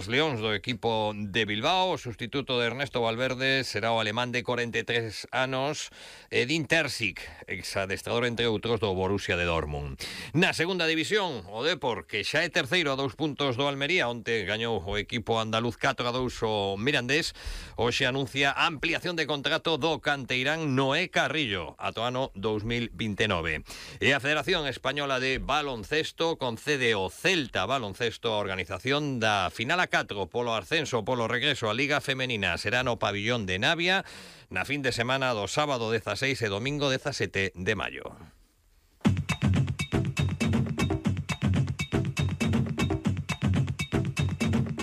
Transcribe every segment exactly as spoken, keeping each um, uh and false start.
Os Leóns do equipo de Bilbao. O sustituto de Ernesto Valverde será o alemán de corenta e tres anos, Edin Terzic, exadestrador entre outros do Borussia de Dortmund. Na segunda división, o Depor, que xa é terceiro a dous puntos do Almería, onte gañou o equipo andaluz catro a dous o Mirandés, hoxe anuncia a ampliación de contrato do canteirán Noé Carrillo ata o ano dous mil vinte e nove. E a Federación Española de Baloncesto concede ao Celta Baloncesto a organización da final a catro polo ascenso, polo regreso á Liga Femenina. Será no pabillón de Navia na fin de semana do sábado dezaseis e domingo dezasete de maio.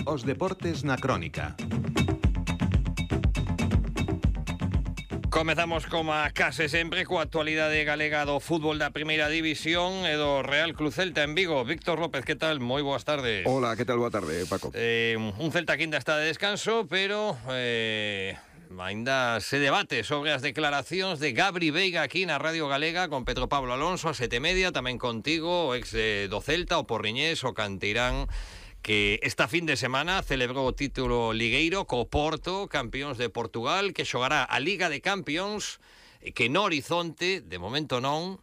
Os deportes na crónica. Comezamos como a case sempre coa actualidade galega do fútbol da primeira división e do Real Club Celta en Vigo. Víctor López, que tal? Moi boas tardes. Hola, que tal? Boa tarde, Paco. Eh, un Celta que ainda está de descanso, pero eh, ainda se debate sobre as declaracións de Gabri Veiga aquí na Radio Galega con Pedro Pablo Alonso a sete e media, tamén contigo, o ex eh, do Celta, o porriñés, o canteirán, que esta fin de semana celebrou o título ligueiro co Porto, campións de Portugal, que xogará a Liga de Campións, que no horizonte, de momento non,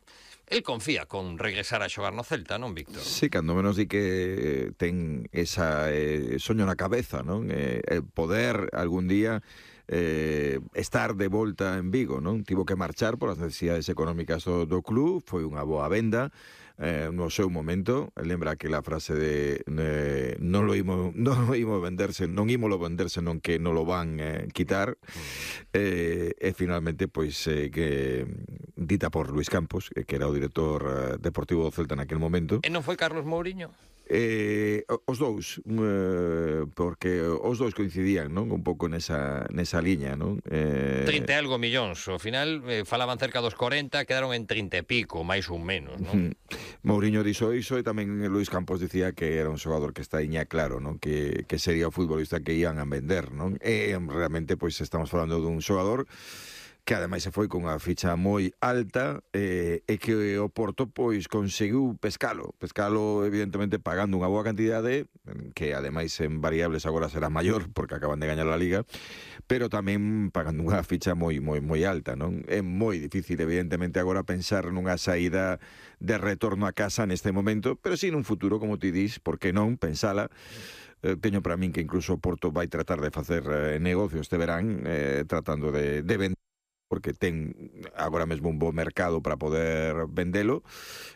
el confía con regresar a xogar no Celta, non, Víctor? Sí, cando menos di que ten esa eh, soño na cabeza, non? Eh, el poder algún día eh, estar de volta en Vigo, non? Tivo que marchar por as necesidades económicas do, do club, foi unha boa venda. Eh, no seu momento, lembra aquela frase de eh, non lo imo, non lo imo venderse, non ímolo venderse, non que non lo van eh, quitar. Eh, e finalmente, pois, eh, que dita por Luis Campos, que era o director eh, deportivo do Celta naquel momento. E non foi Carlos Mourinho? Eh, os dous, eh, porque os dous coincidían, non? Un pouco nesa, nesa liña, non? Eh... trinta e algo millóns, ao final eh, falaban cerca dos corenta, quedaron en trinta e pico, máis ou menos, non? Mourinho dixo iso e tamén Luis Campos dicía que era un xogador que está iña claro, non? Que, que sería o futbolista que iban a vender, non? E realmente, pois, estamos falando dun xogador que ademais se foi con unha ficha moi alta eh, e que o Porto pois conseguiu pescalo, pescalo evidentemente pagando unha boa cantidade, que ademais en variables agora será maior porque acaban de gañar a Liga, pero tamén pagando unha ficha moi moi moi alta, non? É moi difícil evidentemente agora pensar nunha saída de retorno a casa neste momento, pero si nun futuro, como ti dis, por que non pensala. Eh, teño para min que incluso o Porto vai tratar de facer eh, negocio este verán, eh, tratando de, de vender, porque ten agora mesmo un bo mercado para poder vendelo,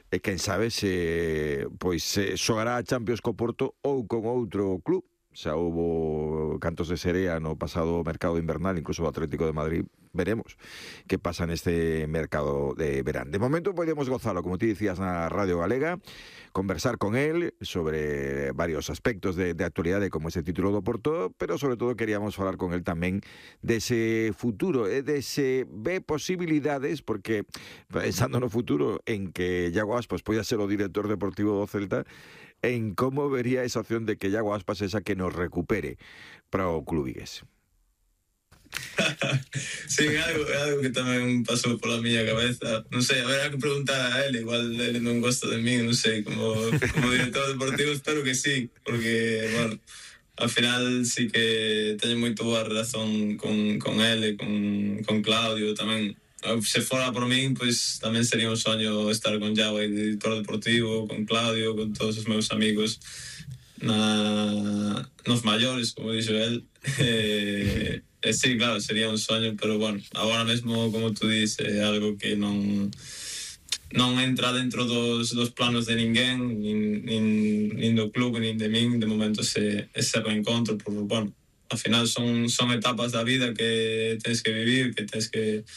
e quen sabe se pois se xogará a Champions co Porto ou con outro club. Xa houbo cantos de serea no pasado mercado invernal, incluso o Atlético de Madrid. Veremos que pasa neste mercado de verán. De momento podemos gozalo, como ti dicías, na Radio Galega, conversar con él sobre varios aspectos de, de actualidade como ese título do Porto, pero sobre todo queríamos falar con él tamén dese futuro, e dese ve posibilidades, porque pensando no futuro en que Iago Aspas poida ser o director deportivo do Celta, en como vería esa opción de que Iago Aspas esa que nos recupere para o club vigués. Sí, é algo, é algo que tamén pasou pola miña cabeza. Non sei, haberá que preguntar a él, igual ele non gosta de mí, non sei, como, como director deportivo espero que sí, porque, bueno, ao final sí que teño moito boa relación con, con ele, con, con Claudio tamén. Se fora por min, pois tamén sería un soño estar con Iago, director deportivo, con Claudio, con todos os meus amigos na, nos maiores, como dixo el. E, e sí, claro, sería un soño, pero bueno, agora mesmo, como tú dices, é algo que non non entra dentro dos, dos planos de ninguén, nin, nin, nin do club, nin de min, de momento ese, ese reencontro, por, bueno, ao final son, son etapas da vida que tens que vivir, que tens que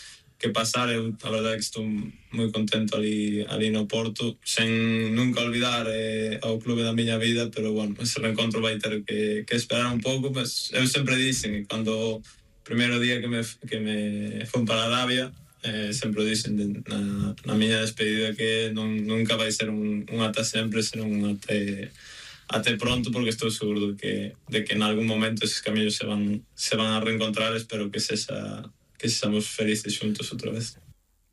que pasar. Eu, a verdade, que estou moi contento ali, ali no Porto, sen nunca olvidar eh, ao clube da miña vida, pero, bueno, ese reencontro vai ter que, que esperar un pouco, mas eu sempre dicen, cando o primeiro día que me, que me fun para Arabia, eh, sempre dicen de, na, na miña despedida que non, nunca vai ser un, un ata sempre, ser un até, até pronto, porque estou seguro de que, de que en algún momento eses camiños se van, se van a reencontrar. Espero que sexa que estamos felices xuntos outra vez.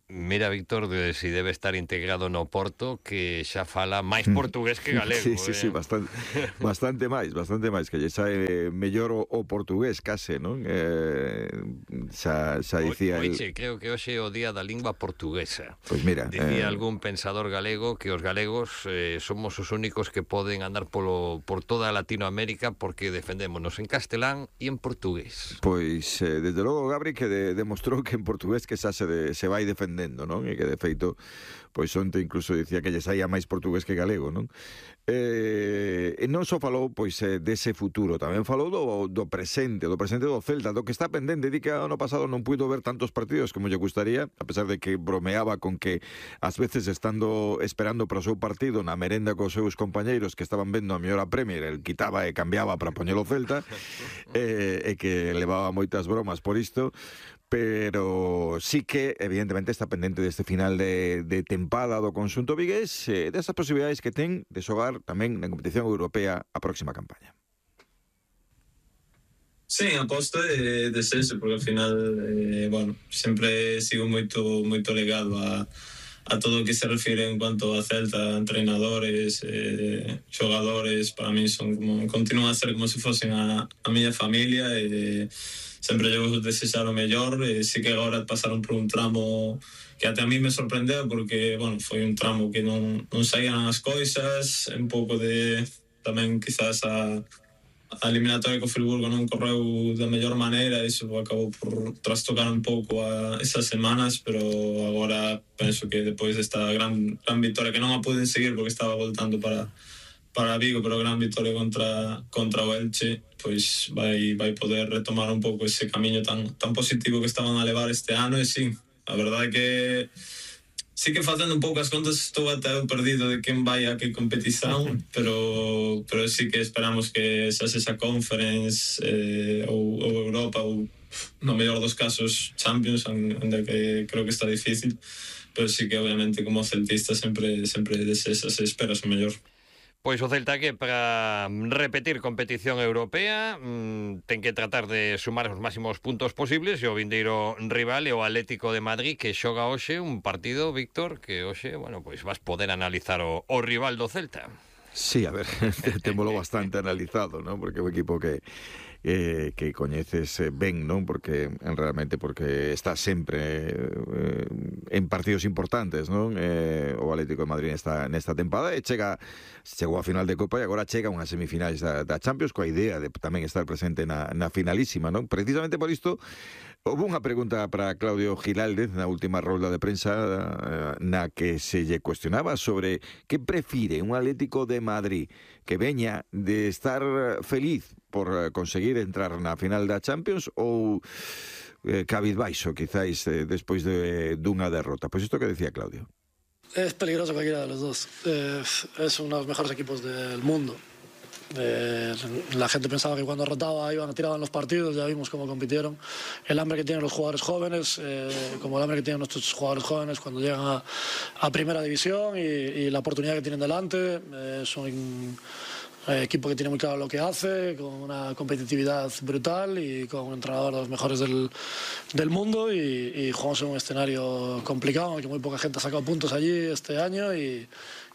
Mira, Víctor, de si debe estar integrado no Porto, que xa fala máis portugués que galego. Sí, sí, eh? sí, bastante, bastante máis, bastante máis, que lle sae mellor o, o portugués, case, non? Eh, xa, xa dicía... Oiche, el... creo que hoxe é o día da lingua portuguesa. Pois mira... Dicía eh... algún pensador galego que os galegos eh, somos os únicos que poden andar polo, por toda Latinoamérica porque defendémonos en castelán e en portugués. Pois, eh, desde logo, Gabri, que de, demostrou que en portugués que xa se, de, se vai defendendo, non? E que, de feito, pois onte incluso dicía que lle saía máis portugués que galego, non? Eh, e non só falou, pois, eh, dese futuro, tamén falou do, do presente, do presente do Celta, do que está pendente. Di que ano pasado non puido ver tantos partidos como lle gustaría, a pesar de que bromeaba con que ás veces estando esperando para o seu partido na merenda cos seus compañeiros que estaban vendo a mellor a Premier, el quitaba e cambiaba para poñelo Celta, eh, e que levaba moitas bromas por isto. Pero sí que, evidentemente, está pendente deste final de, de tempada do conxunto vigués, eh, desas posibilidades que ten de xogar tamén na competición europea a próxima campaña. Sí, aposto é de senso, porque ao final, eh, bueno, sempre sigo moito moito legado a, a todo o que se refire en cuanto a Celta, entrenadores, eh, xogadores. Para mí son como, continúan a ser como se fosen a, a miña familia, e eh, sempre eu desexar o mellor. E sí que agora pasaron por un tramo que até a mí me sorprendeu, porque, bueno, foi un tramo que non, non saían as coisas, un pouco de tamén quizás a, a eliminatoria co Friburgo non correu da mellor maneira, e iso acabou por trastocar un pouco a esas semanas, pero agora penso que depois desta gran, gran victoria, que non a puden seguir porque estaba voltando para para Vigo, pero gran victoria contra contra o Elche, pois vai vai poder retomar un pouco ese camiño tan tan positivo que estaban a levar este ano. E sí, a verdade é que sí que faltando un pouco as contas, estou até perdido de quen vai a que competición, pero pero sí que esperamos que xa sexa Conference eh, ou, ou Europa, ou no mellor dos casos Champions, onde que creo que está difícil, pero sí que obviamente como celtista sempre sempre desexas e esperas o mellor. Pois o Celta que para repetir competición europea mmm, ten que tratar de sumar os máximos puntos posibles, e o vindeiro rival é o Atlético de Madrid, que xoga hoxe un partido, Víctor, que hoxe, bueno, pois vas poder analizar o, o rival do Celta. Sí, a ver, témolo bastante analizado, ¿no? Porque é un equipo que eh, que coñeces ben, non? Porque realmente porque está sempre eh, en partidos importantes, non? Eh, o Atlético de Madrid nesta, nesta tempada, e chega chegou a final de Copa e agora chega a unhas semifinais da, da Champions, coa idea de tamén estar presente na, na finalísima, non? Precisamente por isto houve unha pregunta para Claudio Giláldez na última rolda de prensa, eh, na que se lle cuestionaba sobre que prefire un Atlético de Madrid que veña de estar feliz por conseguir entrar na final da Champions, ou eh, cabizbaixo, quizáis, eh, despois de dunha derrota. Pois isto que decía Claudio. Es peligroso cualquiera de los dos. Eh, es uno de los mejores equipos del mundo. Eh, la gente pensaba que cuando rotaba iban a tirar en los partidos, ya vimos cómo compitieron. El hambre que tienen los jugadores jóvenes, eh, como el hambre que tienen nuestros jugadores jóvenes cuando llegan a, a primera división, y, y la oportunidad que tienen delante. Eh, es un eh, equipo que tiene muy claro lo que hace, con una competitividad brutal y con un entrenador de los mejores del, del mundo, y, y jugamos en un escenario complicado en el que muy poca gente ha sacado puntos allí este año, y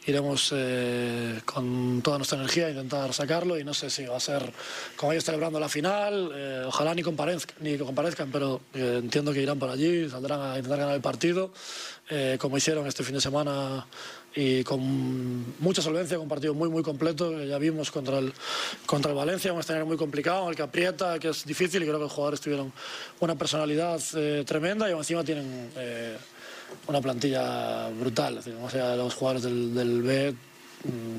iremos eh, con toda nuestra energía a intentar sacarlo. Y no sé si va a ser como ellos celebrando la final, eh, ojalá ni comparezcan, ni comparezcan, pero eh, entiendo que irán por allí, saldrán a intentar ganar el partido, eh, como hicieron este fin de semana, y con mucha solvencia, con un partido muy muy completo, que ya vimos contra el, contra el Valencia, un escenario muy complicado, en el que aprieta, que es difícil, y creo que los jugadores tuvieron una personalidad eh, tremenda, y encima tienen eh, una plantilla brutal. Es decir, o sea, los jugadores del, del B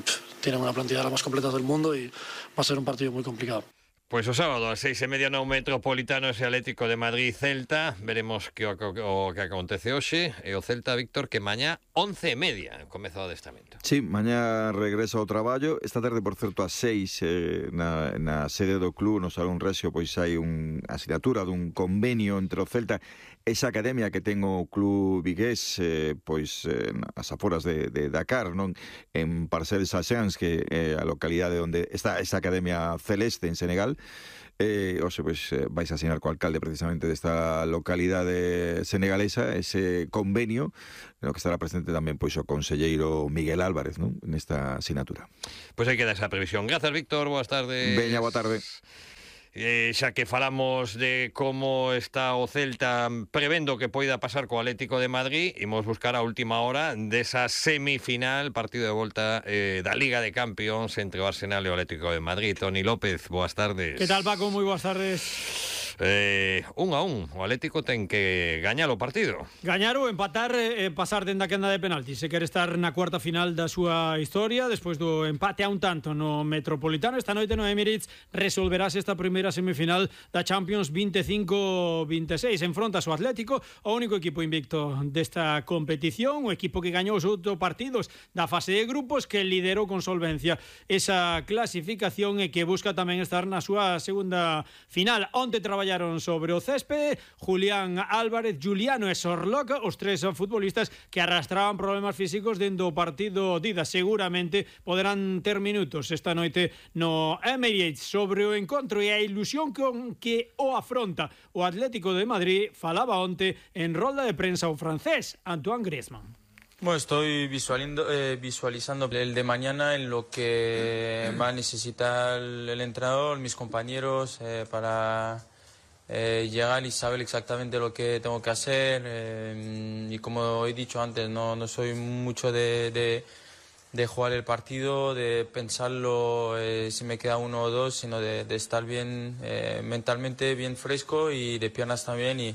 pff, tienen una plantilla de las más completas del mundo, y va a ser un partido muy complicado. Pois o sábado a seis e media no Metropolitano, ese Atlético de Madrid Celta. Veremos que o, o que acontece hoxe. E o Celta, Víctor, que mañá once e media comeza o adestramento. Sí, mañá regresa ao traballo. Esta tarde, por certo, a seis eh, na, na sede do club, no Salón Rexio, pois hai un asignatura dun convenio entre o Celta e esa academia que ten o club vigués, eh, pois eh, nas aforas de, de Dakar, non? En Parcelles Saxans, que é eh, a localidade onde está esa academia celeste en Senegal. final. Eh, o sea, pues eh, vais a asinar co alcalde precisamente desta localidade senegalesa ese convenio no que estará presente tamén pois o conselleiro Miguel Álvarez, non? Nesta asignatura. Pois aí queda esa previsión. Grazas, Víctor, boas tardes. Veña, boa tarde. Eh, xa que falamos de como está o Celta prevendo que poida pasar co Atlético de Madrid, imos buscar a última hora desa semifinal, partido de volta eh, da Liga de Campións entre o Arsenal e o Atlético de Madrid. Toni López, boas tardes. Que tal, Paco? Moi boas tardes. Eh, un a un, o Atlético ten que gañar o partido. Gañar ou empatar e eh, pasar dende a quenda de penaltis. Se quere estar na cuarta final da súa historia, despois do empate a un tanto no Metropolitano, esta noite no Emirates resolverase esta primeira semifinal da Champions veinticinco veintiséis. Enfrontas o Atlético, o único equipo invicto desta competición, o equipo que gañou os outros partidos da fase de grupos, que liderou con solvencia esa clasificación e que busca tamén estar na súa segunda final. Onte traballaron sobre o céspede Julián Álvarez, Juliano e Sorlock, os tres futbolistas que arrastraban problemas físicos dentro do partido Dida. Seguramente poderán ter minutos esta noite no Emirates. Sobre o encontro e a ilusión con que o afronta o Atlético de Madrid, falaba onte en rolda de prensa o francés Antoine Griezmann. Bueno, estoy visualizando, eh, visualizando el de mañana en lo que va a necesitar el entrenador, mis compañeros, eh, para eh, llegar y saber exactamente lo que tengo que hacer. Eh, y como he dicho antes, no, no soy mucho de, de, de jugar el partido, de pensarlo eh, si me queda uno o dos, sino de, de estar bien eh, mentalmente, bien fresco y de piernas también. Y,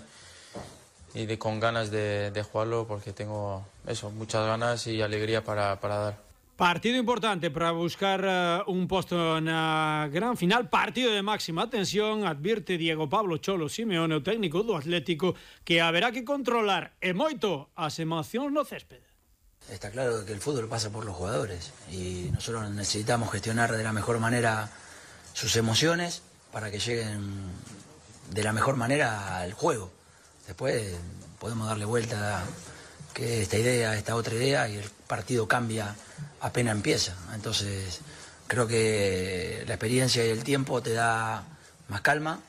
y de con ganas de, de jugarlo, porque tengo eso, muchas ganas y alegría para, para dar. Partido importante para buscar uh, un posto na gran final, partido de máxima tensión, advirte Diego Pablo Cholo Simeone, o técnico do Atlético, que haberá que controlar e moito as emocións no céspede. Está claro que el fútbol pasa por los jugadores y nosotros necesitamos gestionar de la mejor manera sus emociones para que lleguen de la mejor manera al juego. Después podemos darle vuelta a que esta idea, esta otra idea, y el partido cambia apenas empieza. Entonces creo que la experiencia y el tiempo te da más calma,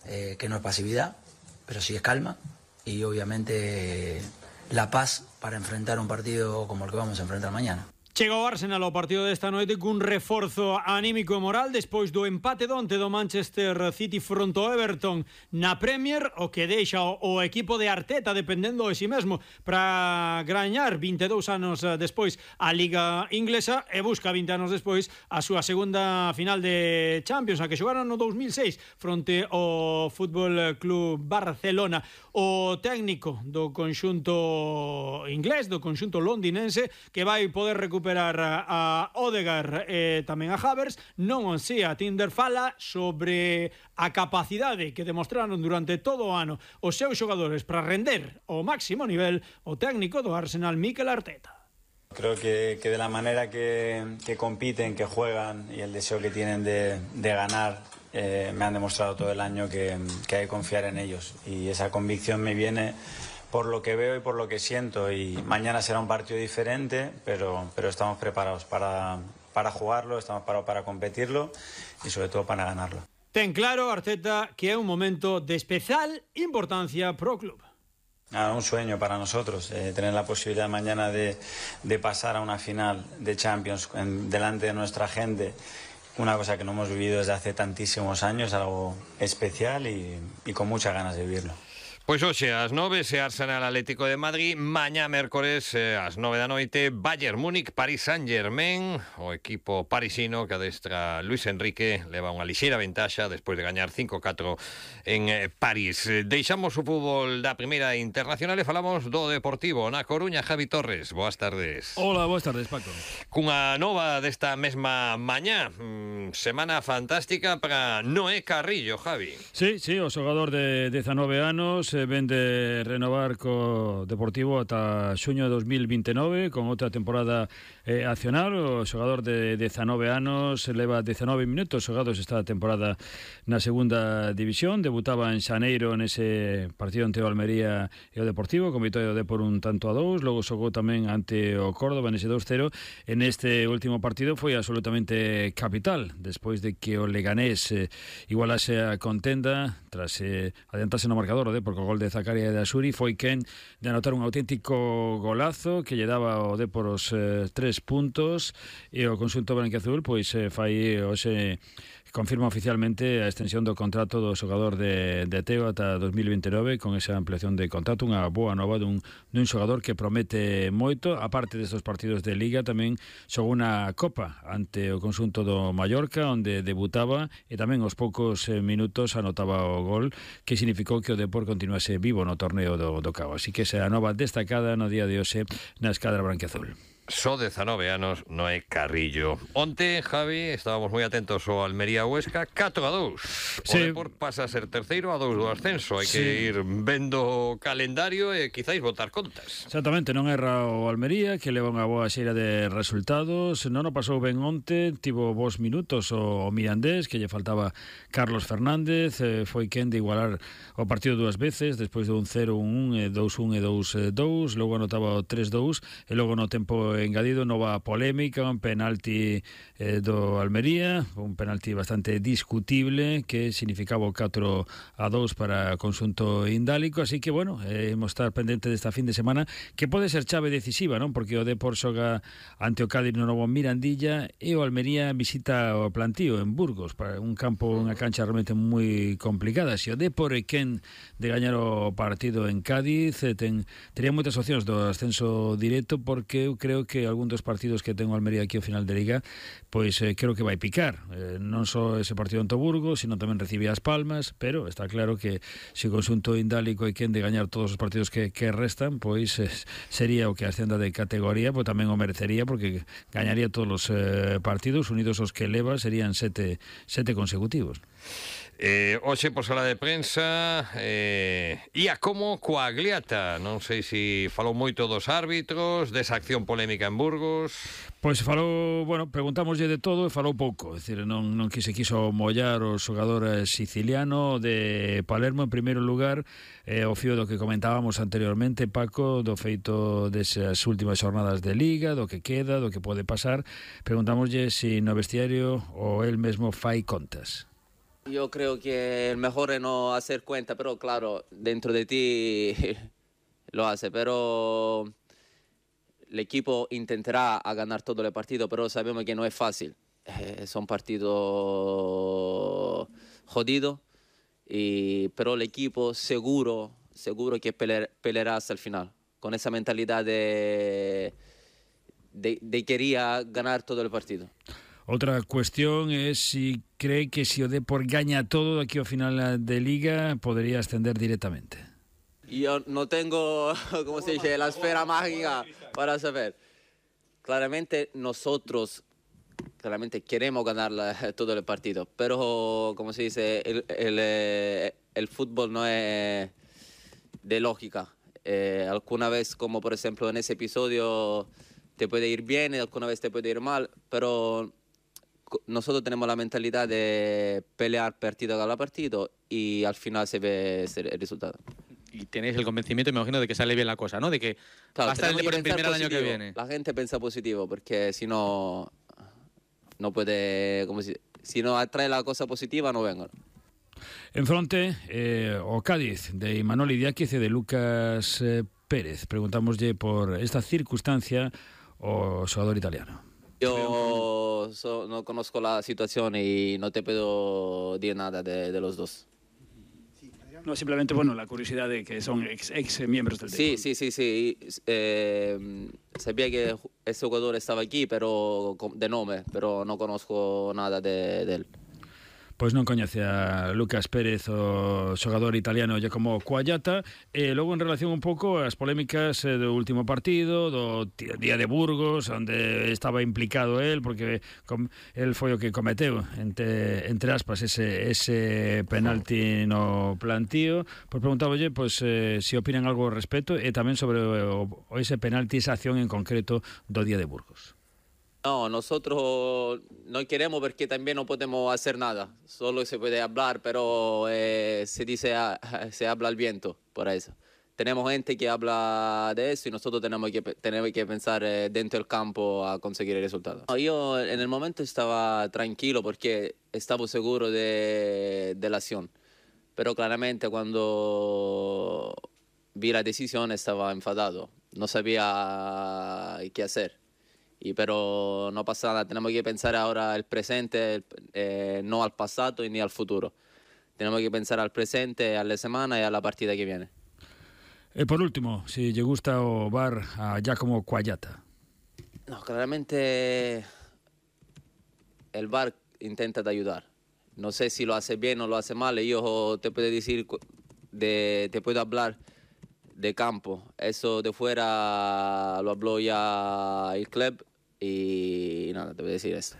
eh, que no es pasividad, pero sí es calma, y obviamente la paz para enfrentar un partido como el que vamos a enfrentar mañana. Chega o Arsenal ao partido desta noite cun reforzo anímico e moral despois do empate donte do Manchester City fronte ao Everton na Premier, o que deixa o, o equipo de Arteta dependendo de si mesmo para gañar vinte e dous anos despois a Liga Inglesa e busca vinte anos despois a súa segunda final de Champions, a que xogaron no dous mil seis fronte ao Fútbol Club Barcelona. O técnico do conxunto inglés, do conxunto londinense, que vai poder recuperar a Odegaard e tamén a Havertz, non o sei, a Tinder fala sobre a capacidade que demostraron durante todo o ano os seus xogadores para render ao máximo nivel o técnico do Arsenal, Mikel Arteta. Creo que, que de la manera que, que compiten, que juegan y el deseo que tienen de, de ganar, eh, me han demostrado todo el año que, que hay que confiar en ellos, y esa convicción me viene por lo que veo y por lo que siento, y mañana será un partido diferente, pero, pero estamos preparados para, para jugarlo, estamos preparados para competirlo y sobre todo para ganarlo. Ten claro Arteta que é un momento de especial importancia pro club. Ah, un sueño para nosotros, eh, tener la posibilidad mañana de, de pasar a una final de Champions en, delante de nuestra gente, una cosa que no hemos vivido desde hace tantísimos años, algo especial y, y con muchas ganas de vivirlo. Pois hoxe ás nove se Arsenal Atlético de Madrid, mañá mércores eh, ás nove da noite Bayern Múnich, Paris Saint-Germain, o equipo parisino que adestra Luis Enrique leva unha lixeira ventaxa despois de gañar cinco catro en eh, París. Deixamos o fútbol da primeira internacional e falamos do Deportivo na Coruña. Javi Torres, boas tardes. Hola, boas tardes, Paco. Cunha nova desta mesma mañá, mm, semana fantástica para Noé Carrillo, Javi. Sí, sí, o xogador de dezanove anos, eh, ven de renovar co Deportivo ata xuño de dos mil veintinueve con outra temporada eh, accional. O xogador de dezanove anos leva dezanove minutos xogados esta temporada na segunda división. Debutaba en xaneiro nese partido ante o Almería e o Deportivo, con vitoria de por un tanto a dous. Logo xogou tamén ante o Córdoba nese dos cero. En este último partido foi absolutamente capital, despois de que o Leganés eh, igualase a contenda tras eh, adiantarse no marcador o Depor co gol de Zakaria e de Asuri. Foi quen de anotar un auténtico golazo que lle daba o Depor os eh, tres puntos, e o conxunto branquiazul pois eh, fai hoxe confirma oficialmente a extensión do contrato do xogador de, de Teo ata dos mil veintinueve, con esa ampliación de contrato, unha boa nova dun, dun xogador que promete moito. A parte destes partidos de Liga, tamén xogou unha Copa ante o conxunto do Mallorca, onde debutaba e tamén aos poucos minutos anotaba o gol, que significou que o Depor continuase vivo no torneo do, do Cao. Así que esa nova destacada no día de hoxe na escadra branquiazul. Só dezanove anos, non é carrillo. Onte, Javi, estábamos moi atentos ao Almería Huesca, catro a dous. O sí. Depor pasa a ser terceiro a dous do ascenso. Hai sí. que ir vendo o calendario e quizáis botar contas. Exactamente, non erra o Almería, que leva unha boa xeira de resultados. Non o pasou ben onte, tivo bons minutos o Mirandés, que lle faltaba Carlos Fernández. Eh, foi quen de igualar o partido dúas veces, despois de un cero un un, dous un e dous dous. Logo anotaba o tres dous, e logo no tempo engadido nova polémica, un penalti eh, do Almería, un penalti bastante discutible que significaba o catro a dous para o conxunto indálico. Así que, bueno, eh, hemos estar pendente desta fin de semana, que pode ser chave decisiva, non? Porque o Depor xoga ante o Cádiz no novo Mirandilla e o Almería visita o Plantío en Burgos, para un campo, unha cancha realmente moi complicada. Se o Depor é quen de gañar o partido en Cádiz, eh, ten, tería moitas opcións do ascenso directo, porque eu creo que algún dos partidos que ten o Almería aquí ao final de Liga, pois eh, creo que vai picar. Eh, non só ese partido en Toburgo, sino tamén recibe as Palmas, pero está claro que se o conxunto indálico é quen de gañar todos os partidos que, que restan, pois eh, sería o que ascenda de categoría, pois tamén o merecería, porque gañaría todos os eh, partidos, unidos os que leva serían sete, sete consecutivos. Eh, hoxe por sala de prensa eh, ia como coa Gliata. Non sei se falou moito dos árbitros, desa acción polémica en Burgos. Pois falou, bueno, preguntámoslle de todo e falou pouco. É dicir, non, non que se quiso mollar o xogador siciliano de Palermo. En primeiro lugar, eh, o fío do que comentábamos anteriormente, Paco, do feito desas últimas xornadas de Liga, do que queda, do que pode pasar. Preguntámoslle se no vestiario o el mesmo fai contas. Yo creo que el mejor es no hacer cuenta, pero claro, dentro de ti lo hace, pero el equipo intentará a ganar todo el partido, pero sabemos que no es fácil. Eh, son partidos jodidos, y, pero el equipo seguro, seguro que pelear, peleará hasta el final, con esa mentalidad de, de, de quería ganar todo el partido. Outra cuestión é si cree que se o Depor gaña todo aquí ao final de Liga podería ascender directamente. Yo no tengo, como se dice, la esfera mágica para saber. Claramente nosotros claramente queremos ganar la, todo el partido, pero como se dice, el, el, el fútbol no es de lógica. Eh, alguna vez, como por ejemplo en ese episodio, te puede ir bien y alguna vez te puede ir mal, pero nosotros tenemos la mentalidad de pelear partido a partido y al final se ve el resultado. Y tenéis el convencimiento, me imagino, de que sale bien la cosa, ¿no? De que claro, va a estar el Depor en primera el año que viene. La gente piensa positivo, porque si no, no puede, como si, si no atrae la cosa positiva, no vengan. En fronte, eh, o Cádiz de Imanol Idiáquez e de Lucas eh, Pérez. Preguntámoslle por esta circunstancia o xogador italiano. Yo so, no conozco la situación y no te puedo decir nada de, de los dos. No, simplemente, bueno, la curiosidad de que son ex, ex miembros del Sí, sí, sí, sí. Eh, sabía que ese jugador estaba aquí, pero de nombre, pero no conozco nada de, de él. Pois non coñece a Lucas Pérez, o xogador italiano Giacomo Quagliata. E logo en relación un pouco ás polémicas eh, do último partido, do día de Burgos, onde estaba implicado el, porque com, el foi o que cometeu, entre, entre aspas, ese, ese penalti no plantío. Pois preguntábolle pois, eh, se opinan algo ao respecto e tamén sobre o, o ese penalti, esa acción en concreto do día de Burgos. No, nosotros no queremos porque también no podemos hacer nada. Solo se puede hablar, pero eh, se dice, se habla al viento por eso. Tenemos gente que habla de eso y nosotros tenemos que, tenemos que pensar eh, dentro del campo a conseguir el resultado. No, yo en el momento estaba tranquilo porque estaba seguro de, de la acción. Pero claramente cuando vi la decisión estaba enfadado. No sabía qué hacer. Y, pero no pasa nada, tenemos que pensar ahora el presente, eh, no al pasado ni al futuro. Tenemos que pensar al presente, a la semana y a la partida que viene. E por último, si lle gusta o V A R a Giacomo Quagliata. No, claramente el V A R intenta de ayudar. No sé si lo hace bien o lo hace mal. Yo te puedo decir, de, te puedo hablar de campo. Eso de fuera lo habló ya el club y nada, te voy a decir eso.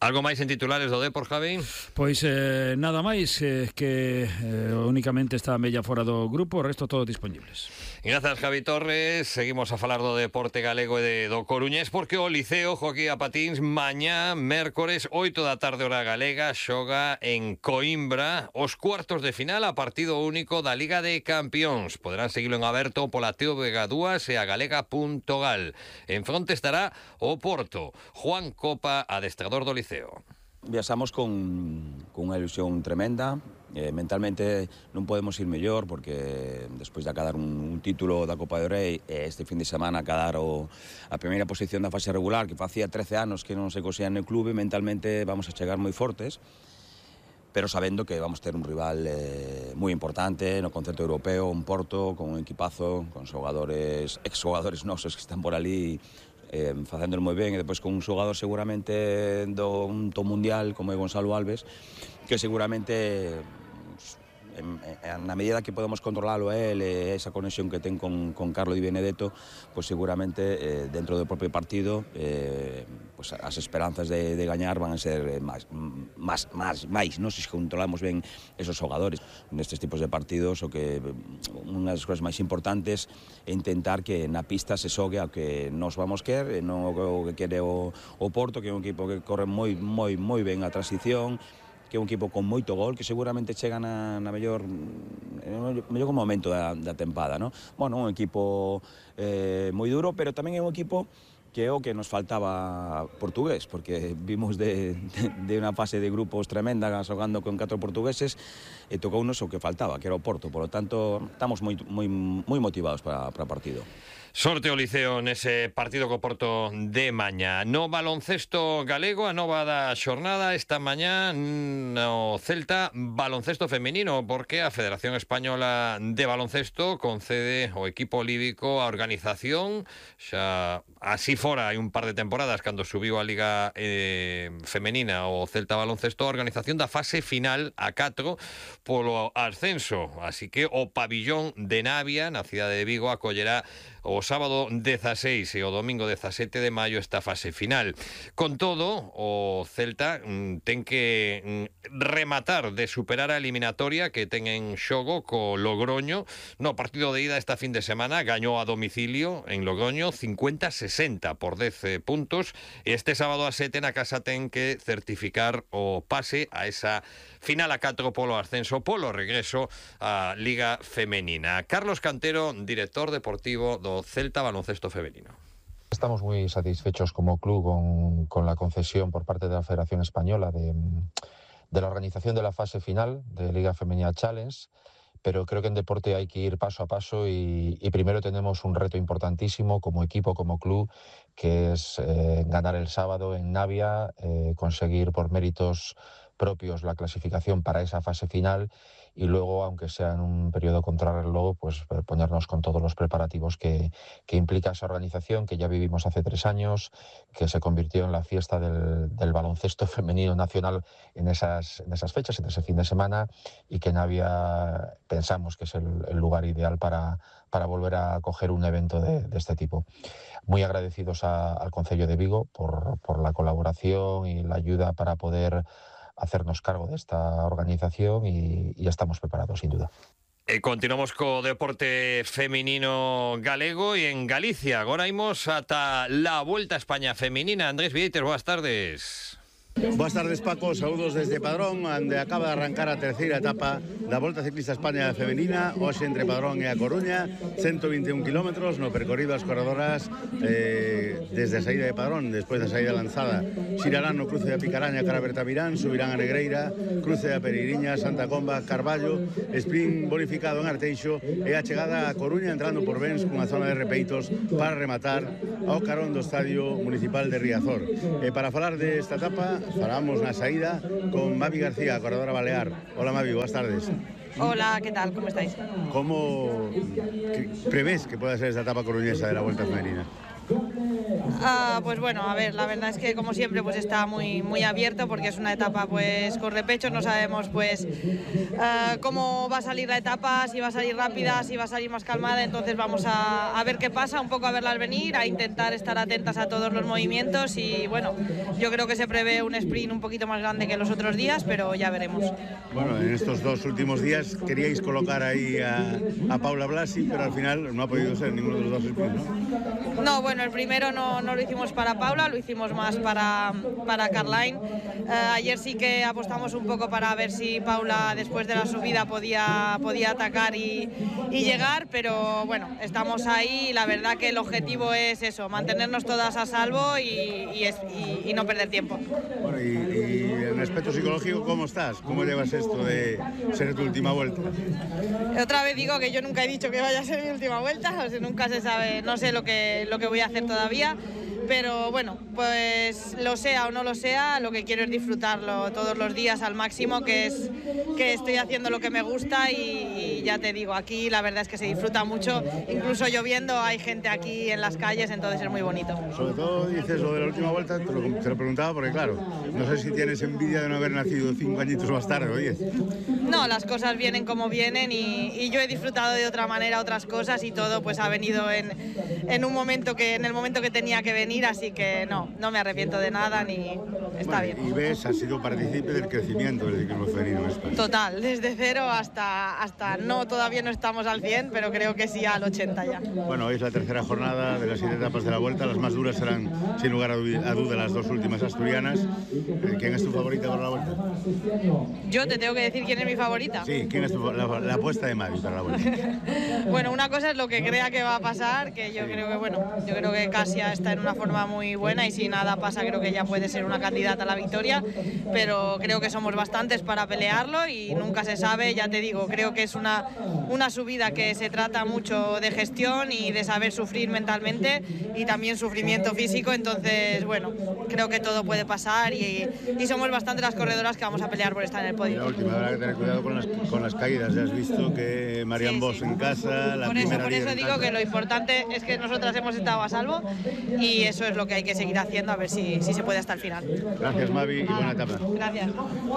Algo máis en titulares do Depor, Javi? Pois eh, nada máis, eh, que eh, únicamente está a Mella fora do grupo, o resto todos disponibles. Grazas, Javi Torres. Seguimos a falar do deporte galego e de, do Coruñés, porque o Liceo joquea patins mañá, mércores, oito da tarde hora galega, xoga en Coimbra os cuartos de final a partido único da Liga de Campións. Poderán seguilo en aberto pola T V G dúas e a galega punto gal. En fronte estará o Porto. Juan Copa, adestrador do Liceo. Viaxamos con, con unha ilusión tremenda. Eh, mentalmente non podemos ir mellor porque despois de acadar un, un título da Copa do Rei e este fin de semana acadar o, a primeira posición da fase regular, que facía trece anos que non se cosía no clube, mentalmente vamos a chegar moi fortes, pero sabendo que vamos ter un rival eh, moi importante no concerto europeo, un Porto con un equipazo, con xogadores, exxogadores nosos que están por ali eh, facéndolo moi ben, e depois con un xogador seguramente do un top mundial como é Gonzalo Alves, que seguramente en, en, na medida que podemos controlalo a él e esa conexión que ten con, con Carlo Di Benedetto, pues seguramente eh, dentro do propio partido eh, pues as esperanzas de, de gañar van a ser máis, máis, máis, máis, non? Se controlamos ben esos xogadores nestes tipos de partidos, o que unha das cousas máis importantes é intentar que na pista se xogue ao que nos vamos querer, e non o que quere o, o Porto, que é un equipo que corre moi, moi, moi ben a transición, que é un equipo con moito gol, que seguramente chega na, na mellor, no mellor momento da, da tempada, ¿no? Bueno, un equipo eh, moi duro, pero tamén é un equipo que é o que nos faltaba portugués, porque vimos de, de, de unha fase de grupos tremenda xogando con catro portugueses e tocounos o que faltaba, que era o Porto. Por lo tanto, estamos moi, moi, moi motivados para, para o partido. Sorte o Liceo nese partido co Porto de mañá. No baloncesto galego, a nova da xornada esta mañá no Celta baloncesto femenino, porque a Federación Española de Baloncesto concede ao equipo líbico a organización, xa así fora hai un par de temporadas cando subiu a Liga eh, Femenina o Celta Baloncesto, a organización da fase final a catro polo ascenso, así que o pabillón de Navia na cidade de Vigo acollerá o sábado dezaseis e o domingo dezasete de maio esta fase final. Con todo, o Celta mm, ten que mm, rematar de superar a eliminatoria que ten en xogo co Logroño. No partido de ida esta fin de semana gañou a domicilio en Logroño cincuenta a sesenta por dez puntos. Este sábado a sete na casa ten que certificar o pase a esa final a catro polo ascenso, polo regreso á Liga Femenina. Carlos Cantero, director deportivo do Celta Baloncesto Femenino. Estamos muy satisfechos como club con, con la concesión por parte de la Federación Española de, de la organización de la fase final de Liga Femenina Challenge, pero creo que en deporte hay que ir paso a paso y, y primero tenemos un reto importantísimo como equipo, como club, que es eh, ganar el sábado en Navia, eh, conseguir por méritos propios la clasificación para esa fase final y luego, aunque sea en un periodo contrarreloj, pues ponernos con todos los preparativos que, que implica esa organización que ya vivimos hace tres años, que se convirtió en la fiesta del, del baloncesto femenino nacional en esas, en esas fechas, en ese fin de semana, y que Navia pensamos que es el, el lugar ideal para, para volver a acoger un evento de, de este tipo. Muy agradecidos a, al Concello de Vigo por, por la colaboración y la ayuda para poder hacernos cargo de esta organización y, y estamos preparados, sin duda. E continuamos co deporte feminino galego e en Galicia. Agora imos ata la Vuelta a España feminina. Andrés Vieites, boas tardes. Boas tardes, Paco, saúdos desde Padrón, onde acaba de arrancar a terceira etapa da Volta Ciclista España femenina, hoxe entre Padrón e A Coruña, ciento vinte e un kilómetros no percorrido as corredoras eh, desde a saída de Padrón, despois da saída lanzada, xirarán no cruce da Picaraña cara a Bertamirán, subirán a Negreira, cruce da Pereiriña, Santa Comba, Carballo, sprint bonificado en Arteixo e a chegada a Coruña entrando por Bens cunha zona de repeitos para rematar ao carón do Estadio Municipal de Riazor. E para falar desta etapa falamos na saída con Mavi García, corredora balear. Hola Mavi, boas tardes. Hola, ¿qué tal? ¿Cómo estáis? ¿Cómo prevés que pueda ser esta etapa coruñesa de la Vuelta Femenina? Uh, pues bueno, a ver, la verdad es que como siempre pues está muy, muy abierto porque es una etapa pues con repechos, no sabemos pues uh, cómo va a salir la etapa, si va a salir rápida, si va a salir más calmada, entonces vamos a, a ver qué pasa, un poco a verlas venir, a intentar estar atentas a todos los movimientos y bueno, yo creo que se prevé un sprint un poquito más grande que los otros días, pero ya veremos. Bueno, en estos dos últimos días queríais colocar ahí a, a Paula Blasi, pero al final no ha podido ser ninguno de los dos sprints, ¿no? No, bueno, el primero no, no lo hicimos para Paula, lo hicimos más para, para Caroline. Uh, ayer sí que apostamos un poco para ver si Paula después de la subida podía, podía atacar y, y llegar, pero bueno, estamos ahí y la verdad que el objetivo es eso, mantenernos todas a salvo y, y, es, y, y no perder tiempo. Bueno, y, y en aspecto psicológico, ¿cómo estás? ¿Cómo llevas esto de ser tu última vuelta? Otra vez digo que yo nunca he dicho que vaya a ser mi última vuelta, o sea, nunca se sabe, no sé lo que, lo que voy a hacer todavía, pero bueno, pues lo sea o no lo sea, lo que quiero es disfrutarlo todos los días al máximo, que es que estoy haciendo lo que me gusta y, y ya te digo, aquí la verdad es que se disfruta mucho, incluso lloviendo hay gente aquí en las calles, entonces es muy bonito. Sobre todo dices lo de la última vuelta, te lo, te lo preguntaba porque claro, no sé si tienes envidia de no haber nacido cinco añitos más tarde o diez. No, las cosas vienen como vienen y, y yo he disfrutado de otra manera otras cosas y todo pues ha venido en, en un momento que, en el momento que tenía que venir, así que no, no me arrepiento de nada ni está bueno, bien. Y ves, has sido partícipe del crecimiento del ciclismo femenino en España. Total, desde cero hasta, hasta no, todavía no estamos al cien, pero creo que sí al ochenta ya. Bueno, hoy es la tercera jornada de las siete etapas de la Vuelta, las más duras serán sin lugar a duda las dos últimas asturianas. ¿Quién es tu favorita para la Vuelta? Yo te tengo que decir quién es mi favorita. Sí, ¿quién es tu, la, la apuesta de Mavi para la Vuelta? Bueno, una cosa es lo que crea que va a pasar, que yo creo que bueno, yo creo que Casia está en una forma muy buena y si nada pasa creo que ya puede ser una candidata a la victoria, pero creo que somos bastantes para pelearlo y nunca se sabe, ya te digo, creo que es una, una subida que se trata mucho de gestión y de saber sufrir mentalmente y también sufrimiento físico, entonces bueno, creo que todo puede pasar y, y somos bastantes las corredoras que vamos a pelear por estar en el podio. La última, habrá que tener cuidado con las, con las caídas, ya has visto que Marian sí, Bosch sí. en casa, la por primera eso, por eso digo casa. Que lo importante es que nosotras hemos estado a salvo y eso es lo que hay que seguir haciendo a ver si, si se puede hasta el final. Gracias Mavi y buena etapa. Gracias.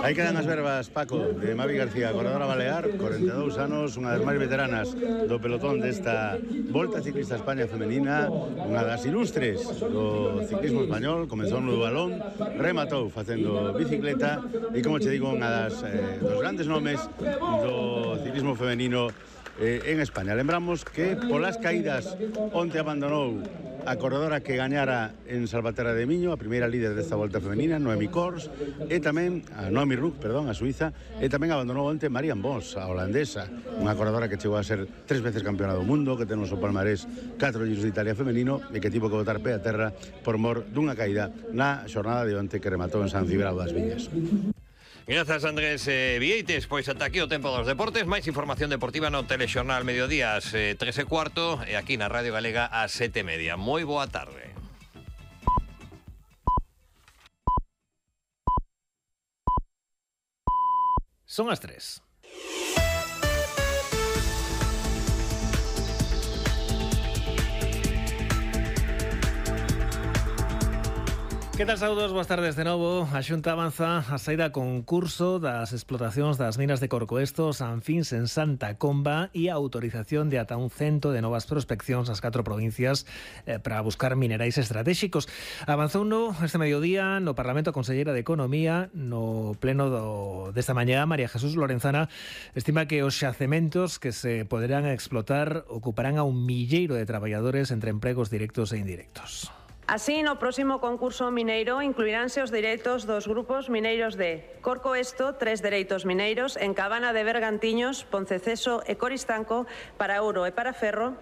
Aí quedan as verbas, Paco, de Mavi García, corredora balear, cuarenta e dous anos, unha das máis veteranas do pelotón desta Volta Ciclista España femenina, unha das ilustres do ciclismo español, comezou no balón, rematou facendo bicicleta e, como che digo, unha das eh, dos grandes nomes do ciclismo femenino eh, en España. Lembramos que polas caídas onte abandonou a corredora que gañara en Salvaterra de Miño, a primeira líder desta Volta femenina, Noemi Kors, e tamén a Noemi Ruck, perdón, a suiza, e tamén abandonou onte Marian Bosch, a holandesa, unha corredora que chegou a ser tres veces campeona do mundo, que ten no seu palmarés catro Giros de Italia femenino e que tivo que botar pé a terra por mor dunha caída na xornada de onte que rematou en San Cibrao das Viñas. Grazas Andrés eh, Vieites, pois ata aquí o tempo dos deportes, máis información deportiva no Telexornal Mediodías eh, tres e cuarto e aquí na Radio Galega a sete e media. Moi boa tarde. Son as tres. Que tal, saúdos? Boas tardes de novo. A Xunta avanza a saída a concurso das explotacións das minas de Corcoesto, Sanfins en Santa Comba e a autorización de ata un cento de novas prospeccións nas catro provincias eh, para buscar minerais estratégicos. Avanzou no este mediodía no Parlamento a Conselleira de Economía no pleno do, desta mañá. María Jesús Lorenzana estima que os xacementos que se poderán explotar ocuparán a un milleiro de traballadores entre empregos directos e indirectos. Así, no próximo concurso mineiro incluiránse os dereitos dos grupos mineiros de Corcoesto, tres dereitos mineiros, en Cabana de Bergantiños, Ponceceso e Coristanco para ouro e para ferro,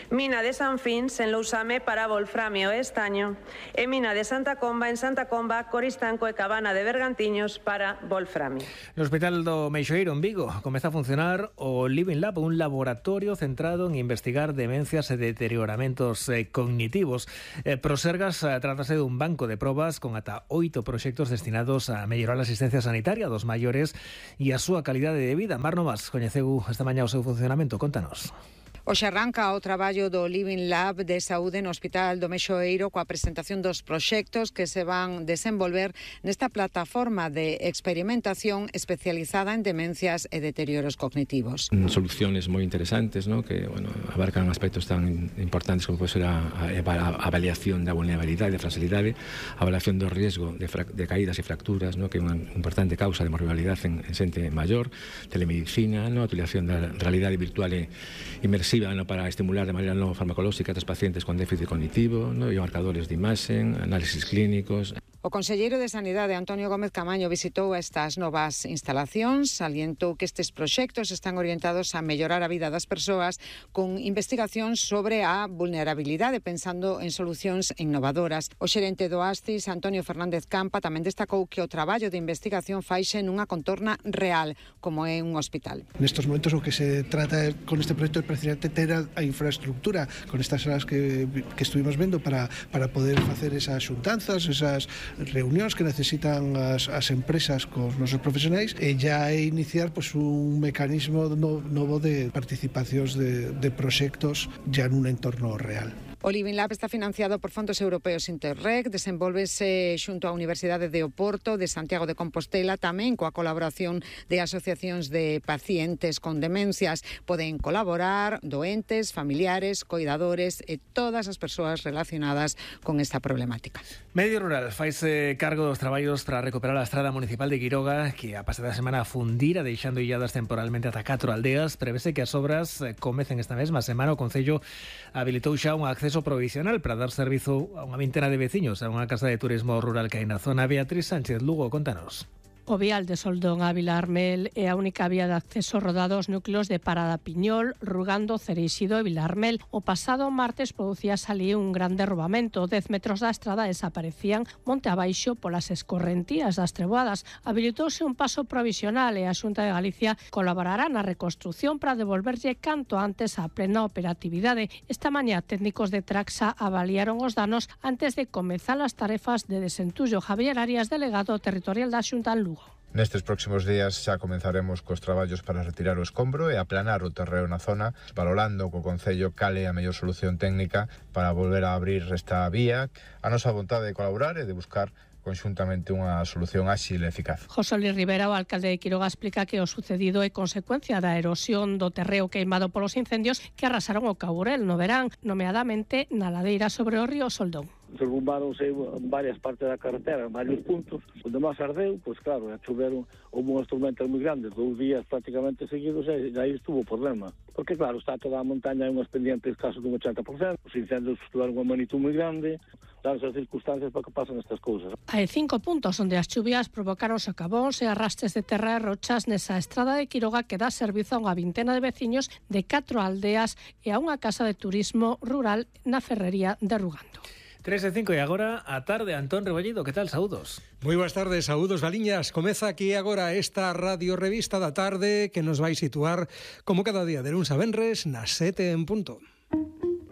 Mina de Sanfins en Lousame para volframio e estaño e Mina de Santa Comba en Santa Comba, Coristanco e Cabana de Bergantiños para volframio. No Hospital do Meixoeiro en Vigo comeza a funcionar o Living Lab, un laboratorio centrado en investigar demencias e deterioramentos eh, cognitivos. Eh, Prosergas eh, trátase dun banco de probas con ata oito proxectos destinados a mellorar a asistencia sanitaria dos maiores e a súa calidade de vida. Mar Novas coñeceu esta mañá o seu funcionamento. Contanos. Hoxe arranca o traballo do Living Lab de Saúde no Hospital do Meixoeiro coa presentación dos proxectos que se van desenvolver nesta plataforma de experimentación especializada en demencias e deterioros cognitivos. Soluciones moi interesantes, ¿no? Que bueno, abarcan aspectos tan importantes como pode ser a, a, a avaliación da vulnerabilidade e da fragilidade, a avaliación do riesgo de, fra, de caídas e fracturas, ¿no? Que é unha importante causa de morbilidade en, en xente maior, telemedicina, ¿no? A utilización da realidade virtual e inmersiva ¿no? Para estimular de maneira non farmacolóxica a estes pacientes con déficit cognitivo, ¿no? E marcadores de imaxen, análisis clínicos. O conselleiro de Sanidade, Antonio Gómez Camaño, visitou estas novas instalacións, salientou que estes proxectos están orientados a mellorar a vida das persoas con investigación sobre a vulnerabilidade, pensando en solucións innovadoras. O xerente do Astis, Antonio Fernández Campa, tamén destacou que o traballo de investigación faixe nunha contorna real, como é un hospital. Nestos momentos o que se trata con este proxecto é precisamente ter a, a infraestructura con estas salas que, que estuvimos vendo para, para poder facer esas xuntanzas, esas reunións que necesitan as, as empresas cos nosos profesionais e já é iniciar pues, un mecanismo no, novo de participacións de, de proxectos já nun entorno real. O Living Lab está financiado por fondos europeos Interreg, desenvolvese xunto á Universidade de Oporto, de Santiago de Compostela, tamén coa colaboración de asociacións de pacientes con demencias. Poden colaborar doentes, familiares, coidadores e todas as persoas relacionadas con esta problemática. Medio Rural faise cargo dos traballos para recuperar a estrada municipal de Quiroga, que a pasada semana fundira, deixando illadas temporalmente ata catro aldeas. Prevese que as obras comecen esta mesma semana. O Concello habilitou xa un acceso provisional para dar servizo a unha vintena de veciños a unha casa de turismo rural que hai na zona. Beatriz Sánchez Lugo, contanos. O vial de Soldón a Vilarmel é a única vía de acceso rodado aos núcleos de Parada Piñol, Rugando, Cereixido e Vilarmel. O pasado martes producíase ali un gran derrubamento. Dez metros da estrada desaparecían monte abaixo polas escorrentías das treboadas. Habilitouse un paso provisional e a Xunta de Galicia colaborará na reconstrucción para devolverlle canto antes a plena operatividade. Esta mañá técnicos de Traxa avaliaron os danos antes de comezar as tarefas de desentullo. Javier Arias, delegado territorial da Xunta en Lugo. Nestes próximos días xa comenzaremos cos traballos para retirar o escombro e aplanar o terreo na zona, valorando co Concello cal é a mellor solución técnica para volver a abrir esta vía. A nosa vontade de colaborar e de buscar conxuntamente unha solución áxil e eficaz. José Luis Rivera, o alcalde de Quiroga, explica que o sucedido é consecuencia da erosión do terreo queimado polos incendios que arrasaron o Caburel no verán, nomeadamente na ladeira sobre o río Soldón. Derrumbáronse varias partes da carretera, en varios puntos, onde máis ardeu, pois claro, choveron, houve unhas tormentas moi grandes, dous días prácticamente seguidos, e aí estuvo o problema. Porque claro, está toda a montaña en unhas pendientes caso dun ochenta por cento, os incendios tiveron unha magnitud moi grande, danse as circunstancias para que pasen estas cousas. Hai cinco puntos onde as chuvias provocaron socavóns e arrastres de terra e rochas nesa estrada de Quiroga que dá servizo a unha vintena de veciños de catro aldeas e a unha casa de turismo rural na ferrería de Rugando. tres e cinco e agora a tarde. Antón Rebollido, que tal? Saúdos. Moi boas tardes, saúdos Valiñas. Comeza aquí agora esta radio revista da tarde que nos vai situar como cada día de luns a venres nas sete en punto.